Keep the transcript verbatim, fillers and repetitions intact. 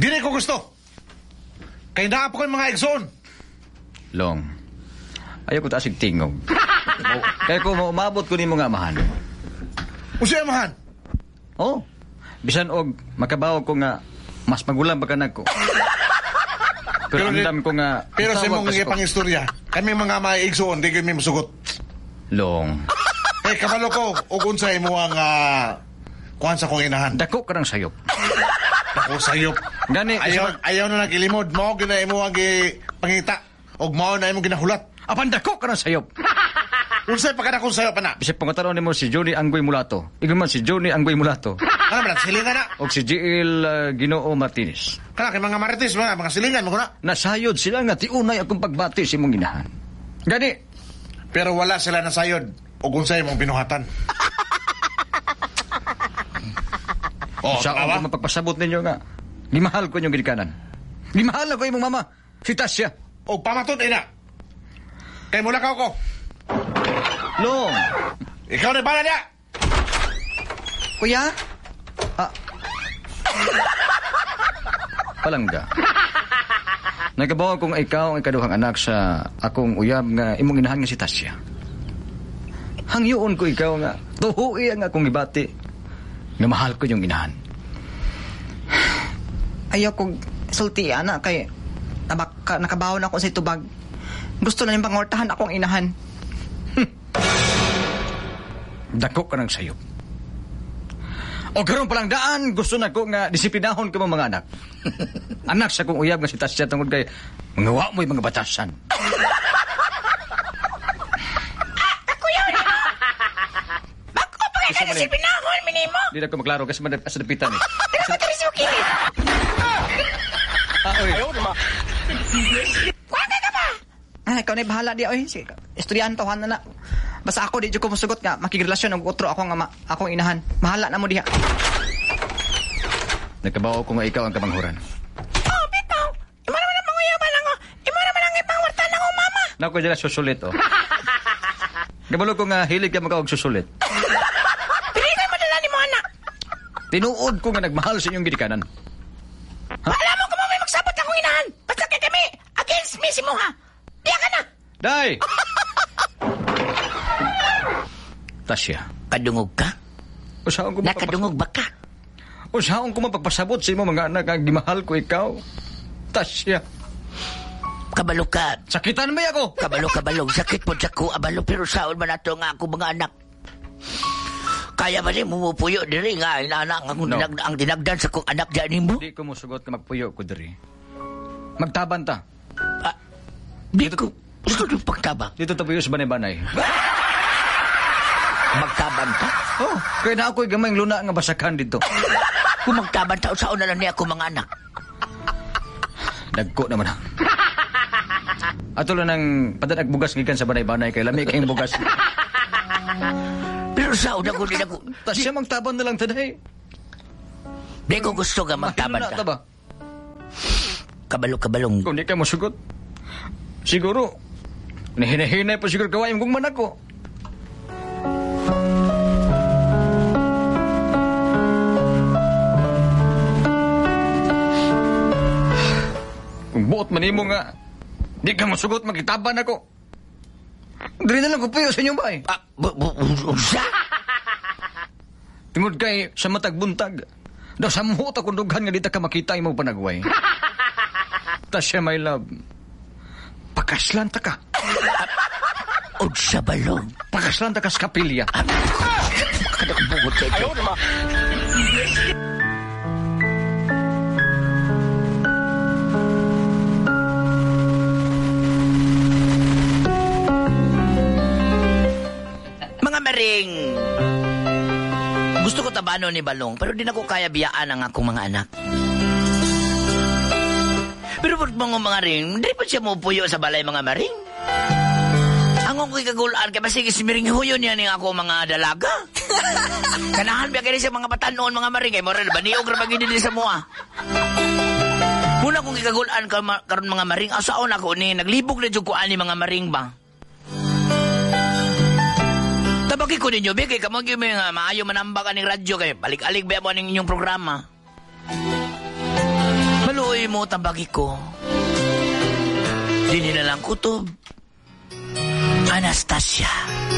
Dili ko gusto. Kay naa pa ko'y mga igsoon. Long, ayaw ko taasig tingog. Kaya ko maumabot ko nimo nga amahan. Unsay amahan? Oh, bisan og makabawog ko nga mas magulang pa ka nagko. Pero Pero andam ko nga Pero sa tawag imong kas ko. pangistorya, kami mga may igsoon di kami musugot. Long, Kay kabalo ko og unsa imo ang uh, kuan sa kong inahan. dako ka ng sayop. Dako sayop. Gani, Ayaw ayaw na nagilimod mao gyud na imo ang gipangita og mao na imong ginahulat. Apan dako ka ng sayop. Unsay pa kada kung sayop ana? Bisag pangutanon nimo si Johnny Anggoy Mulato. Ingon man si Johnny Anggoy Mulato. Ano man silingan na? Og si Jill uh, Ginoo Martinez. Kana kay mga marites mga mga silingan mo na. Nasayod sila nga tiunay akong pagbati sa imong inahan. Gani, Pero wala sila nasayod og unsay imong binuhatan. Oh, sa tama akong mapagpasabot ninyo nga gimahal ko inyong ginikanan. Gimahal ako imong mama, si Tasya. Og pamatud ina. Kay mulakaw ko. Long, Ikaw na bala niya. kuya? Ah. Palangga. Nagabaw kong ikaw ang ikaduhang anak sa akong uyab nga imong inahan nga si Tasya. Hangyoon ko ikaw nga tuhui ang akong gibati nga mahal ko yung inahan. Ayaw kong sulti, ana, kay nabak, ka, nakabawon ako sa tubag. Gusto na niyang pangortahan akong inahan. Dako ka ng sayop. O karon palang daan, gusto na ko nga disiplinahon ka mo mga anak. Anak sa kong uyab nga si Tasya tungod kay mga wa mo'y mga batasan. Bako pa kayo Isa man eh. disiplinahon, minimo. Di na ko maklaro kasi man sa dapitan eh. Pero ko diri sa kilid. Ah, oy. Kuha ka ka ba? Ah, ikaw na bahala di oy. Sige, estudyante na na. Basta ako di jud ko musugot nga makigrelasyon og utro ako nga ma, akong inahan. Mahala na mo diha. Nagkabaw ko nga ikaw ang kamanghuran. Oh, bitaw. Imo naman ang panguyaban ako. Imo naman ang ipangwarta ng mama. Nako dyan susulit oh. Kabalo ko nga hilig ka makaog susulit. Pili ko'y madala ni mo anak. Tinuod ko nga nagmahal sa inyong ginikanan. Alam mo kung may magsabot akong inahan. Basta kay kami against me si Moha. Diya ka na. Day! Tasya. Kadungog ka? Usaon ko mapagpas- Nakadungog ba ka? Usaon ko mapagpasabot sa imo mga anak ang gimahal ko ikaw. Tasya. Kabalo ka. Sakitan ba ako? Kabalo kabalo. Sakit po sa ko abalo pero saon man ato nga ako mga anak. Kaya ba ni mumupuyo diri nga inana ang No. dinag, ang dinagdan sa kong anak diyan nimo? Di ko musugot nga magpuyo ko diri. Magtaban ta. Ah, di ko gusto yung pagtaba. Dito tapuyo sa banay-banay. Magtaban ta. Oh, kaya na ako'y gamayng luna nga basakan dito. Kung magtaban ta saon na lang niya ako mga anak. Dagko naman ha. Ato lang ng padanag bugas gikan sa banay-banay kay lami kayong bugas. Pero saon ako din ako. Tasya magtaban na lang taday. Di ko gusto nga magtaban Mahilo na ta. ta ba? Kabalo kabalong. Kung di ka musugot, siguro, nahinahinay pa siguro gawain kong manak ko. Kung buot man nimo nga, di ka musugot, magitaban ako. Dili na lang ko puyo sa inyong bahay. Ah, bu, bu, unsa? Tungod kay sa matag buntag, daw sa muhot akong dughan nga di ta ka makita imong panagway. Tasya, my love, pakaslan ta ka. Unsa balong? Pakaslan ta ka sa kapilya. Kada ko bugot sa ito. Mga maring, gusto ko tabano ni Balong, pero di na ko kaya biyaan ang akong mga anak. Pero ba't mga mga ring, di pa siya mupuyo sa balay mga maring. Ang akong kagagulaan, kaya basig ismiring huyo niya ni ako mga dalaga. Kanahan ba kayo sa mga batanon, mga maring, kay moral, baniog ra bagay din sa mua. Muna kong kagagulaan karon mga maring, asaon ako ni, naglibog na jud ko ani mga maring ba. Tabaki ko ninyo, be, kay kamo gyud may nga maayo manambak aning radyo kay balik-alik ba mo aning inyong programa. Nimo tambagi ko. Dili na lang kutob. Anastasia.